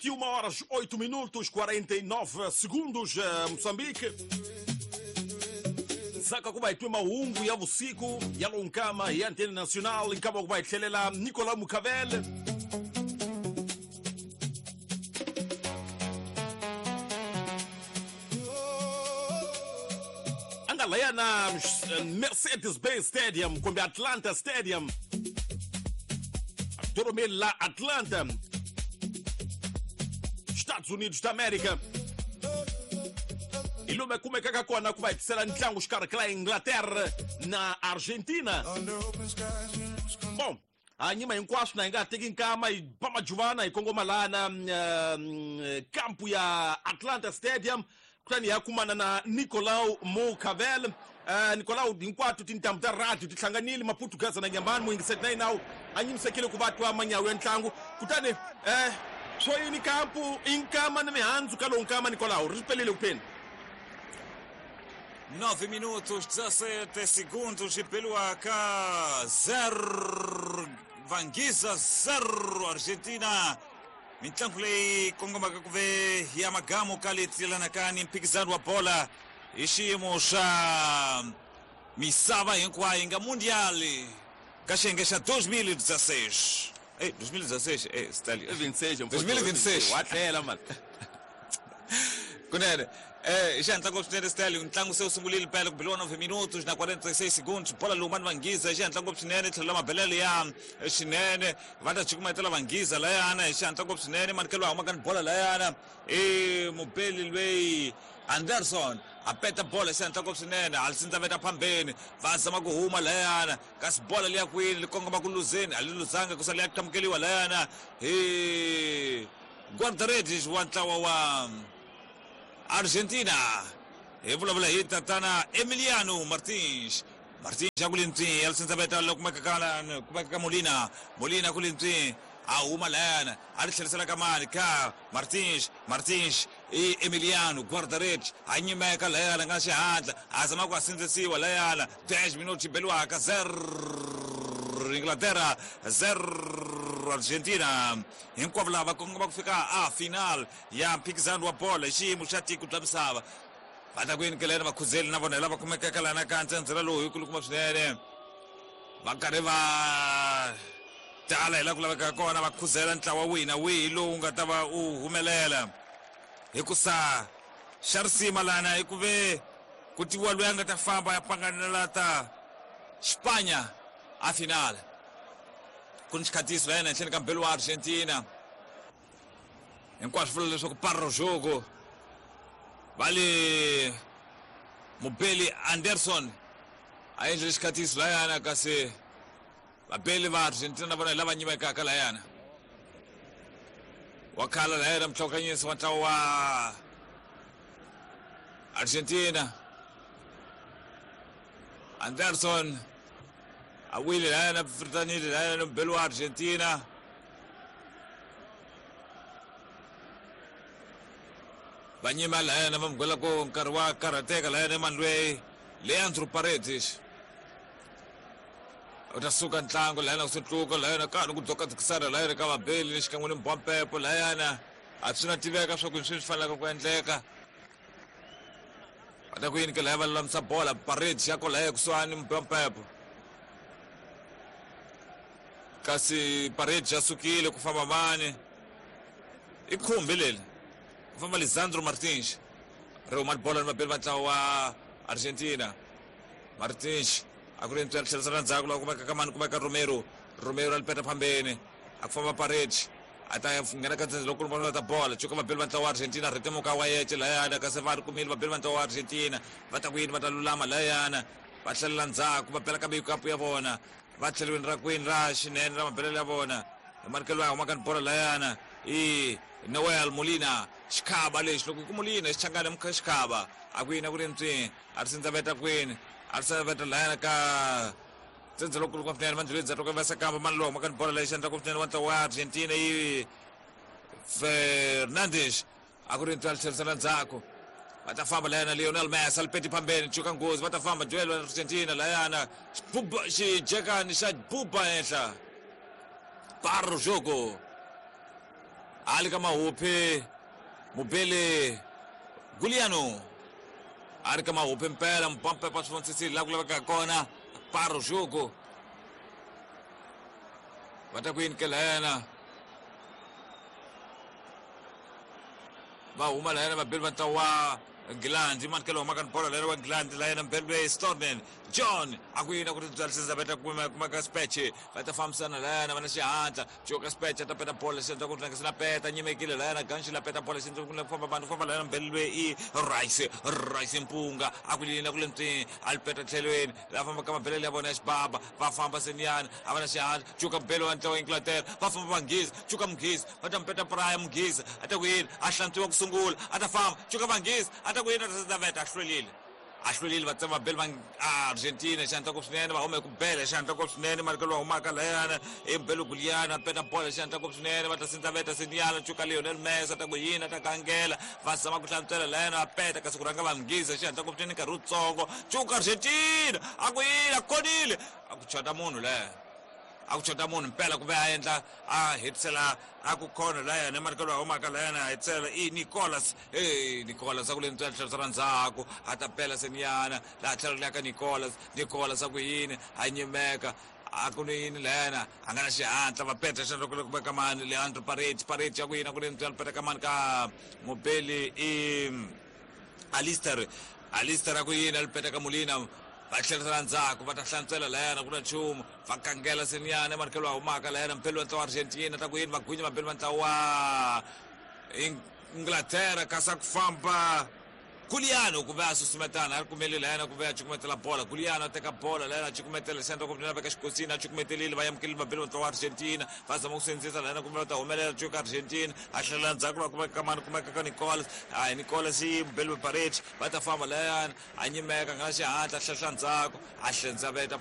21 horas 8 minutos 49 segundos, Moçambique. Saka kuba itwe mahungu ya vusiku ya lonkama ya Antena Nacional nkama kuba ihlelela Nicolau Mucavel. Anga na Mercedes-Benz Stadium kumbe Atlanta Stadium. Doromel la Atlanta, Estados Unidos da América. Ilume kumekaka kona kuba itisela ntlangu xikarhi ka la Inglaterra na Argentina. Bom, a nyima hinkwaswo na hi nga teki nkama hi ba majuvana hi kongoma laha na kampu ya Atlanta Stadium kutani ya kumana na Nicolau Mucavel. Nicolau hinkwato tintambu ta radio ti hlanganile Maputugaza na Nyambani muyingiseti na yinawu a nyimisekile ku va twa manyawu ya ntlangu kutani swo yini kampu i nkama ni mihandzu ka lowu nkama Nicolau ri pelile kupheni. 9 minutos 17 segundos e pelo AK 0 Vangiza 0 Argentina. Mintlangu leyi kongomaka ku ve ya magamu ka le tlelanakani mphikizano wa bola hi xiyimo xa misava hinkwayo yi nga mundial ka xiyenge xa 2016. Ei, 2016, Stalin. 26, 2026. Wa tlhela mani. Kunene, xihatla ngopfu swinene Stalin, ntlangu se wu sungurile pele ku biliwa 9 minutos na 46 segundos. Bola lowu mani Vangiza hi xihatla ngopfu swinene tlhelo la mabelelo ya xinene va ta cukumetela Vangiza layana hi xihatla ngopfu swinene manikelo a humaka ni bola layana i mubeli lweyi Anderson a peta bola xihatla ngopfu swinene a li sindzaveta phambeni va zama ku huma layana kasi bola liya kwini li kongoma ku luzeni a li luzanga ku sala ya qhamukeliwa layana hi guarda-redes wa ntlawa wa Argentina. Hi vulavula hi tatana Emiliano Martins. Martins a ku le ntswini ya lisindzaveta loko kumeka ka Molina. Molina ku le ntswini a huma layana a ri tlherisela ka mani ka Martins. Martins i Emiliano guarda-redes a nyimeka layana nga xihatla a zama ku a sindzisiwa layana 10 minutos beliwaka 0 Inglaterra 0 Argentina. Hinkwavo lava kongoma ku fika a final ya mphikizano wa bola hi xiyimo xa tiko bya misava. Va ta ku yinikeleni vakhuzeli na vona hi lava kumekaka lana ka ntsendzela lowu hi kulukumba swinene va karhi va tala hi laha ku lavekaka kona va khuzela ntlawa wihi na wihi lowu nga ta va u humelela hikusa xa risima lana hi ku ve ku tiviwa loyi a nga ta famba ya panganela ta Xipanya a final. Ku ni xikhatiso la yena henhleni ka mbelo wa Argentina hinkwaswo vula leswaku parro jogo va le mubeli Anderson a endlile xikhatiso layana kasi vabeli va Argentina na vona hi lava nyimekaka layana wa khala layana mutlhokanyisi wa ntlawa wa Argentina Anderson a wile layana fritanile layana mubeli wa Argentina. Va nyima layana va mugwela ku nkarhi wa karhateka layana emanlweyi Leandro Paredes u ta suka ntlangu layana ku sutluka layana ka ku dzokadzikisana layana ka vabeli ni xikan'we ni mbwampepo layana a swi na tiveka swa ku swi fanelaka ku endleka. Va ta ku yini ke laya va lulamisa bola Paredes ya ko laya kusuhani mbwampepo kasi Paredes ya sukile ku famba mani i khumbi leri ku famba Lisandro Martins ri huma bola ni vabeli va ntlawa wa Argentina. Martins a ku ri ntswela tlherisela ndzhaku laha kumeka ka mani kumeka Romero. Romero a li peta phambeni a ku famba Paredes a ta nghena ka ndzhendzhe loko va ta bola cuka vabeli va ntlawa wa Argentina rhetemuka wa yece layana kasi va ri kumile vabeli va ntlawa wa Argentina va ta ku yini va ta lulama layana va tlhelela ndzhaku va bela ka mikapu ya vona va tlheliweni ra kwini ra xinene ra mabelelo ya vona hi manikelo ya humaka ni bola layana i Noel Molina xikhava lexi loko ku Molina xichangana mukha xikhava a ku yini a ku ri ntswini a ri sindzaveta kwini a ri sindzaveta layana ka ndzhendzhe loko ku swinene mandluleni ndzhaku va sakamba mani lowu humaka ni bola lexi endlaka swinene wa ntlawa wa Argentina i Fernandes a ku ri ntswala tlherisela ndzhaku va ta famba layana Lionel Messi a li peti phambeni cuka nghozi va ta famba duel wa Argentina layana xijekani xa buba henhla parro jogo. Ali ka mahuphi mubeli Guliano a ri ka mahuphi mpela mupampepa swi vonisisile laha ku lavekaka kona para o jogo va ta ku yini ke layena va huma layena vabeli va ntlawa wa Nghilandhi mani ke lowu humaka ni bolo layena wa Nghilandhi layena mbeli loyi Storman John a ku yini a ku ri byalisisa va ta kuma kuma ka speche va ta fambisana layena va na xihatla Joka speche a ta peta bolo xi endla ku tlangisa na peta nyimekile layena ganxi la peta bolo xi endla ku famba vanhu famba layena mbeli loyi i Rice Rice Mpunga a ku yini a ku le ntswini a li peta tlhelweni la famba ka mabelele ya vona ya xibaba va famba seniyana a va na xihatla Joka mbeli wa ntlawa Inglaterra va famba vanghezi Joka Mughizi va ta mupeta praya Mughizi a ta ku yini a hlantswiwa ku sungula a ta famba Joka Vanghezi a ta ku yini a ta sezaveta a hlwelile a hlwelile va tsema beli va Argentina xihatla ngopfu swinene va hume ku bela xihatla ngopfu swinene marikelo va humaka layana i mbelo Guliana peta bola xihatla ngopfu swinene va ta sindzaveta seniyana cuka Lionel Messi a ta ku yini a ta gangela va zama ku hlantswela layana va peta kasi ku rhanga va Mughizi xihatla ngopfu swinene nkarhi wutsongo cuka Argentina a ku yini a konile a ku chota munhu laya a ku chota munhu mpela ku ve a endla a hetisela a ku khona layana emarikelo a humaka layana a hetisela i Nicolas e Nicolas a ku le ntswela tlhelo ra ndzhaku a ta pela seniyana laha tlhelo leya ka Nicolas Nicolas a ku yini a nyimeka a ku ni yini layana a nga na xihatla va peta xana loko loko ka mani Leandro Paredes Paredes a ku yini a ku le ntswela peta ka mani ka mubeli i Alistair Alistair a ku yini a li peta ka Molina va tlherisela ndzhaku va ta hlantswela layana ku na nchumu va kangela seniyana emarikelo a humaka layana mpeli wa ntlawa wa Argentina ta ku yini va gwinya vambeli va ntlawa wa Inglaterra kasi a ku famba Guliano ku ve a susumetana a ri kumeli layana ku ve a cukumetela bola Guliano a teka bola layana a cukumetela xandla ku vina veka xikosini a cukumetelile va amukelile vambeli va ntlawa wa Argentina va zama ku sindzisa layana kumbe va ta humelela cuka Argentina a hlelela ndzhaku va kumeka ka mani kumeka ka Nicolas hayi Nicolas i mubeli wa Paredes va ta famba layana a nyimeka nga na xihatla a hlehla ndzhaku a hlendzaveta.